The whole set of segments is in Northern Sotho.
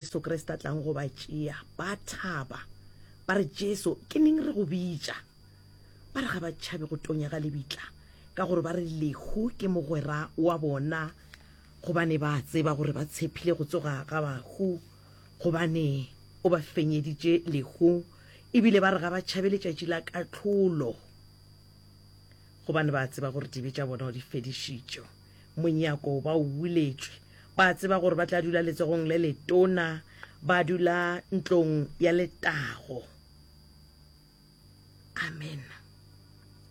Jesu Kriste a tlang go ba tšea, ba thaba. Ba re, Jesu, ke neng re go bitša? Ba re ga ba tšhabe go tonya ga lebitla, ka gore ba re lehu ke mogwera wa bona, gobane ba tseba gore ba tshephile go tsoga ga bahu, gobane o ba fenyeditše lehu. Ebile ba re ga ba tšhabe letšatši la kahlolo, gobane ba tseba gore dibe tša bona o di fedišitše. Monyako ba o buletšwe. Ba tseba gore ba tla dula letsogong le letona, ba dula ntlong ya letago. Amen.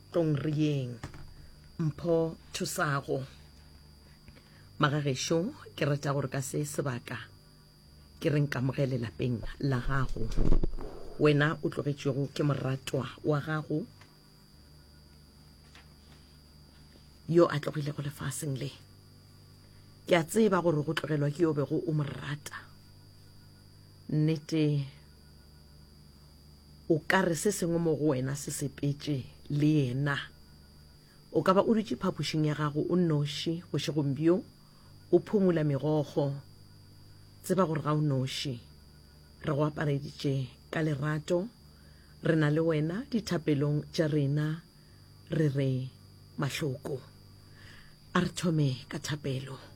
Tlong re yeng. Mpho Thusago. Magagešo, ke rata gore ka se sebaka ke re nkamogele lapeng la gago. Wena o tlogetšwego ke moratwa wa gago yo a tlogilego lefaseng le. Ke a tseba gore go tlogelwa ke yo bego o mo rata. Nnete, o ka re se sengwe mo go wena se sepetše le yena. O ka ba o dutše phapošing ya gago o nnoši bošegong bjo, o phumula megokgo. Tseba gore ga o noši. Re go apareditše ka lerato. Re na le wena dithapelong tša rena. Re re mahloko. A re thome ka thapelo.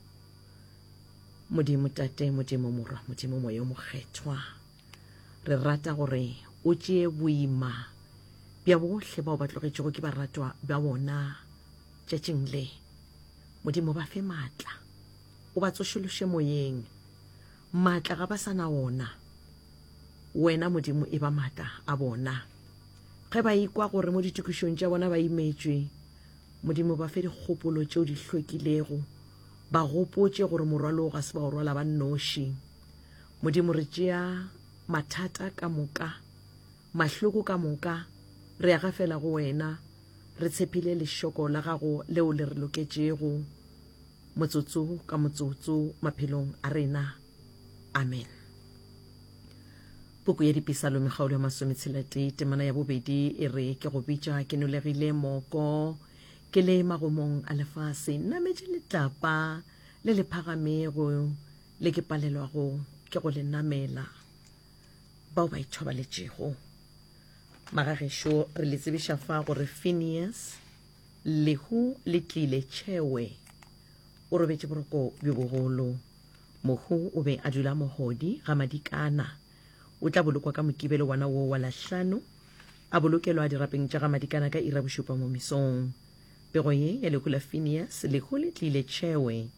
Modimo Tate, Modimo Morwa, Modimo Moya o Mokgethwa, re rata gore o tšee boima bja bohle bao ba tlogetšego ke baratwa ba bona tšatšing le. Modimo ba fe maatla, o ba tsošološe moyeng. Maatla ga ba sa na ona. Wena Modimo e ba maatla a bona. Ge ba ikwa gore mo ditokišong tša bona ba imetšwe, Modimo ba fe dikgopolo tšeo di hlwekilego, ba gopotše gore morwalo ga se ba o rwala ba nnoši. Modimo re tšea mathata ka moka, mahloko ka moka, re a gafela go wena, re tshepile lešoko la gago leo le re loketšego motsotso ka motsotso maphelong a rena. Amen. Puku ya Dipisalome kgaolo ya masometshela-tee temana ya bobedi e re, Ke go bitša ke nolegile moko, ke le magomong a lefase, nametše letlapa le le phagamego le ke palelwago ke go le namela. Bao ba ithobaletšego. Magagešo, re le tsebiša fa gore Phineas, lehu le tlile tšhewe, o robetše boroko bjo bogolo. Mohu o be a dula Mohodi ga Madikana. O tla bolokwa ka Mokibelo wona woo wa Lahlano, a bolokelwa dirapeng tša ga Madikana ka iri ya bošupa mo mesong. Pego ye ya lehu la Phineas, lehu le tlile Tšhewe,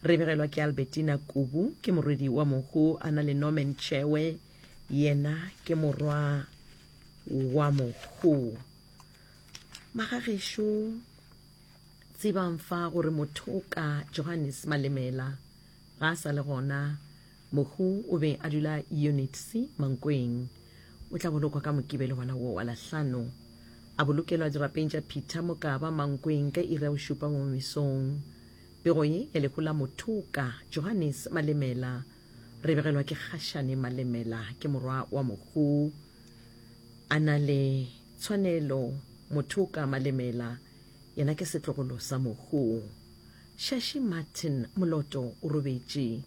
re begelwa ke Albertina Kubu, ke morwedi wa mohu a na le Norman Tšhewe, yena ke morwa wa mohu. Magagešo, tsebang fa gore mothoka Johannes Malemela ga a sa le gona. Mohu o be a dula Unit C Mankweng. O tla bolokwa ka Mokibelo wona wo wa Lahlano. A bolokelwa dirapeng tša Peter Mokaba Mankweng ka iri ya bošupa mo mesong. Pego ye ya lehu la mothoka Johannes Malemela re begelwa ke Kgašane Malemela, ke morwa wa mohu. A na le tshwanelo Mothoka Malemela Yena ke setlogolo sa mohu. Shashi Martin Moloto o robetše.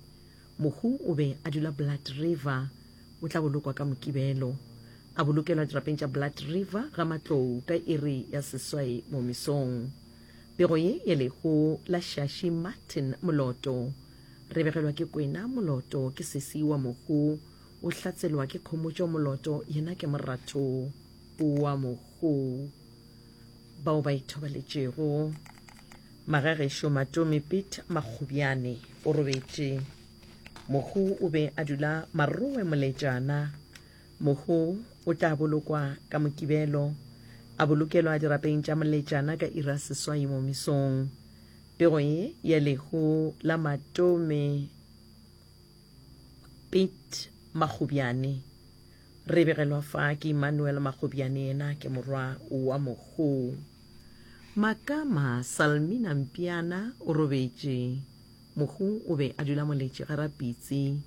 Mohu o be a dula Blood River. O tla bolokwa ka Mokibelo. A bolokelwa dirapeng tša Blood River ga Matlou ka iri ya seswai mo mesong. Pego ye ya lehu la Shashi Martin Moloto re begelwa ke Kwena Moloto ke sesi wa mohu. O hlatselwa ke Khomotšo Moloto yena ke moratho wa mohu. bao ba ithobaletšego. Magagešo Matome Piet Makgobjane o robetše. Mohu o be a dula Marowe Moletšana. Mohu o tla bolokwa ka Mokibelo, a bolokelwa dirapeng tša Moletšana ka iri ya seswai mo mesong. Pego ye ya lehu la Matome Piet Makgobjane Re begelwa fa ke Emmanuel Makgobiane yena ke morwa wa mohu. Makama Salmina Mpiana o robetše. Mohu o be a dula Moletši ga Rapitsi.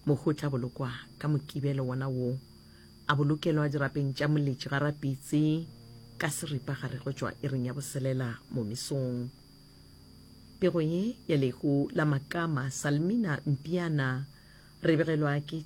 Mohu o tla bolokwa ka Mokibelo wona wo. A bolokelwa dirapeng tša Moletši ga Rapitsi ka seripa gare go tšwa iring ya boselela mo mesong. Pego ye ya lehu la Makama Salmina Mpiana. Re begelwa ke.